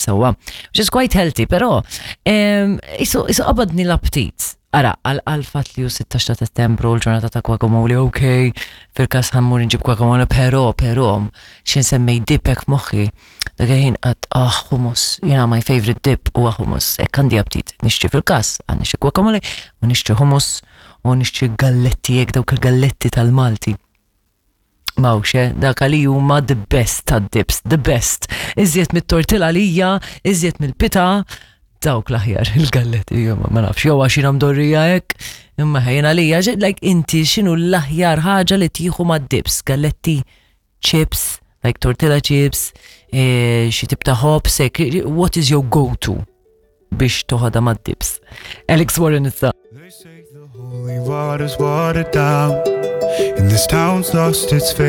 Sewwa, which is quite healthy, però isu isu qabadni l-aptit. Ara, għal fatt li hu 16 ta' Settembru l-ġurnata ta' guacamole, ok, fil-każ ħammur nġib guacamole, però, però, x'ħin semmej dip hekk f'moħħi, dak il-ħin qatt ah hummus, jiena my favorite dip huwa hummus, hekk għandi aptit. Nixtri fil-każ, għandi xi guacamole, u nixtri hummus, u nixtri galletti hekk dawk il-galletti tal-Malti. Mawx, eh? Dak li huma the best tad-dips, the best. Iżjed mit-tortilla lija, iżjed mill-pita, dawk l-aħjar il-galletti, ma nafx, jew għax jiena mdorrija hekk, imma ħejna lija, like inti x'inhu l-aħjar ħaġa li tieħu mad-dips, galletti, chips, like tortilla chips, eh, xi tip ta' hops, hekk, what is your go-to biex toħodha mad-dips? Alex Warren issa. They say the holy water's watered down, and this town's lost its faith.